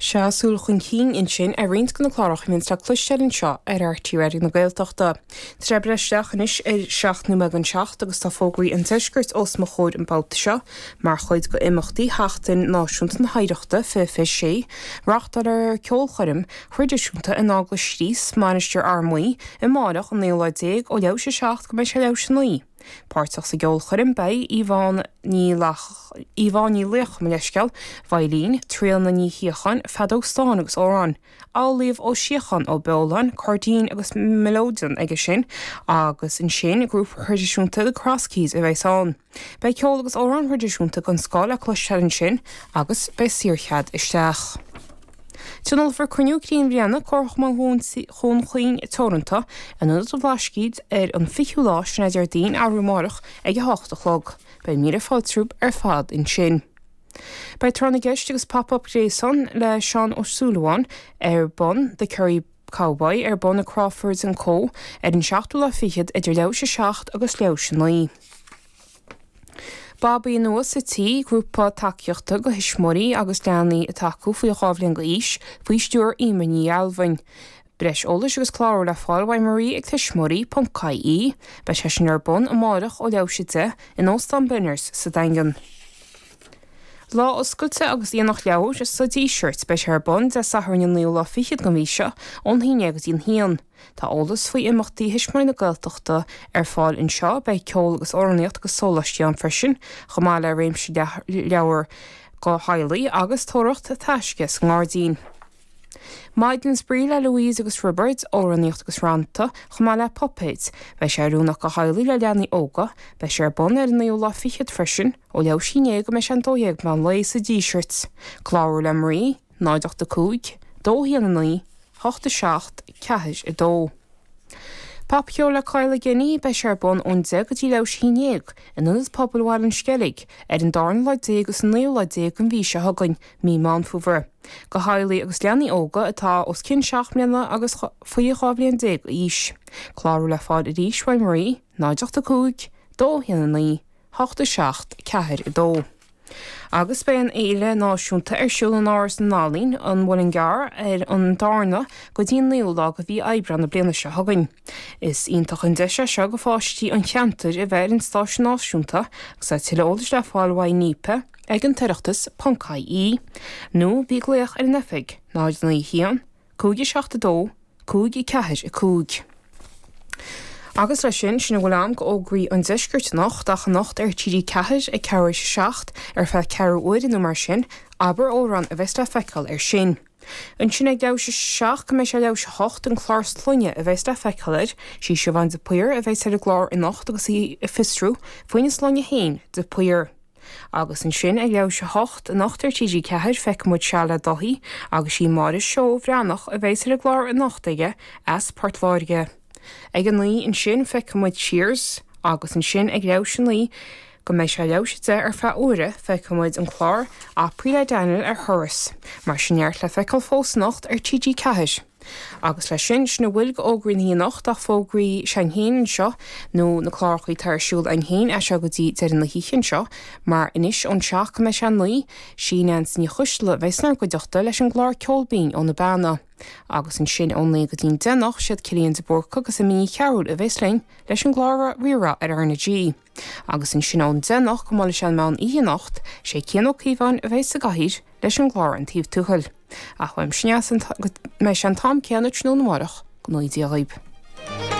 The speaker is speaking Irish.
Sea, súil chun cinn ansin ar roinnt de na cláracha a bhíonns le cloisteáil anseo ar RTÉ Raidió na Gaeltachta. Tá sé ag breith isteach anois ar 7 nóiméad don 7 agus tá fógraí an deiscirt os mo chomhair an babhta seo mar chuid d'imeachtaí Sheachtain Náisiúnta na hOidhreachta 2026. Reáchtálfar ceolchoirm thraidisiúnta in Eaglais Chríost, Mainistir Fhear Maí, amáireach an naoú lá déag ó leathuair tar éis a 7 go mbeidh sé leathuair tar éis a 9. Páirteach sa gceolchoirm beidh Yvonne Ní Yvonne Ní Laochdha, mo leithscéal, veidhlín, Tríona Ní Shíocháin, feadóg stáin agus amhráin, Amhlaoibh Ó Síocháin Ó Beoláin, cairdín agus mileoidean aige sin, agus ansin grúpa thraidisiúnta The Cross Keys a bheas ann. Beidh ceol agus amhráin thraidisiúnta den scoth le cloisteáil ansin agus beidh saorchead isteach. Tionólfar cruinniú cinn bhliana Comharchumann Dhún Chaoin Teoranta in Ionad an Bhlascaoid ar an 20ú lá, sin é Déardaoin, arú amárach, ag 8 a chlog. Beidh míle fáilte romhaibh ar fad ansin. Beidh Tráth na gCeist agus Pop Up Gréasán le Seán Ó Súilleabháin ar bun, The Kerry Cowboy, ar bun i Crawford's and Co ar an seachtú lá fichead idir leathuair tar éis a 7 agus leathuair tar éis a 9. Babaí Nua sa Tí, grúpa tacaíochta do thuismitheoirí agus leanaí atá acu faoi 2 bhliain d'aois, faoi stiúir Emer Ní Ghealbhain. Breis eolais agus clárú le fáil uaidh Marie ag tuismitheoirí ponc ie. Beidh sé sin ar bun amárach ó leathuair tar éis a 10 in Óstán Benners sa Daingean. Lá Oscailte agus Aonach Leabhar sa Díseart. Beidh sé ar bun Dé Sathairn an naoú lá fichead den mhí seo ón haon déag go dtí an haon. Tá eolas faoi imeachtaí Thuismitheoirí na Gaeltachta ar fáil anseo. Beidh ceol agus amhránaíocht agus sóláistí ann freisin, chomh maith le réimse leabhar do theaghlaigh agus tóraíocht taisce sa ngairdín. Maidin Spraoi le Louise agus Roibeard, amhránaíocht agus rannta, chomh maith le puipéid. Beidh sé oiriúnach do theaghlaigh le leanaí óga. Beidh sé ar bun ar an naoú lá fichead freisin, ó leathuair tar éis a haon déag go mbeidh sé an 12 meán lae sa Díseart. Clárú le Marie, 0 8 5, 2 1 9, 8 7 4 2. Popcheol le Kyle Geaney, beidh sé ar bun ón 10 go dtí leathuair tar éis a haon déag, in Ionad Pobail Bhaile an Sceilg, ar an darna lá déag agus an naoú lá déag den mhí seo chugainn, mí Meán Fómhair. Do theaghlaigh agus leanaí óga atá os cionn 7 mbliana agus faoi 12 bhliain d'aois. Clárú le fáil arís uaidh Marie, 0 8 5, 2 1 9, 8 7 4 2. Agus beidh an Fhéile Náisiúnta ar siúl in Áras na nEalaíon, An Muileann gCearr, ar an darna go dtí an naoú lá de mhí Aibreán na bliana seo chugainn. Is iontach an deis é seo do pháistí an cheantair a bheith ar an stáitse náisiúnta agus tá tuilleadh eolais le fáil uaidh Neepa ag an tOireachtas ponc ie nó bí ag glaoch ar an oifig 0 9 1 5 7 2 5 4 5. Agus leis sin, sin a bhfuil a'm d'fhógraí an deiscirt anocht, ach anocht ar TG4 ag ceathrú théis a 7, ar feadh ceathrú uaire nó mar sin, Abair Amhrán a bheas le feiceáil air sin. Ansin ag leathuair théis a 7 go mbeidh sé leathuair théis a 8, an clár Sloinne a bheas le feiceáil air, sí Siobhán de Paor a bheas ar an gclár anocht agus í ag fiosrú faoina sloinne féin, de Paor. Agus ansin ag leathuair théis a hocht anocht ar TG4 feicfidh muid Seal le Dáithí agus sí Máire Seó Bhreathnach a bheas ar an gclár anocht aige as Port Láirge. Ag a naoi ansin feicfidh muid Cheers agus ansin ag leathuair théis a naoi go mbeidh sé leathuair théis a deich ar feadh uaire feicfidh muid an clár Opry le Daniel ar thuras. Mar sin neart le feiceáil fós anocht ar TG4. Agus leis sin, sin a bhfuil d'fhógraí na hoíche anocht ach fógraí s'againn féin anseo, nó na clárachaí atá ar siúl againn féin as seo go dtí deireadh na hoíche anseo, mar anois ón seacht go mbeidh sé a naoi, sí Neansaí Ní Choisdealbha a bheas inár gcuideachta leis an gclár Ceol Binn ó na Beanna. Agus ansin ón naoi go dtí an deich anocht, siad Cillian de Búrca agus Amy Ní Chearúil a bheas linn leis an gclár Rí-Rá ar R na G. Agus ansin ón deich anocht go mbuailfidh sé an meán oíche anocht, sé Cian Ó Cíobháin a bheas sa gcathaoir leis an gclár An Taobh Tuathail. Ach uaimse go mbeidh sé an t-am céanna tráthnóna amárach, go ngnóthaí Dia dhaoib.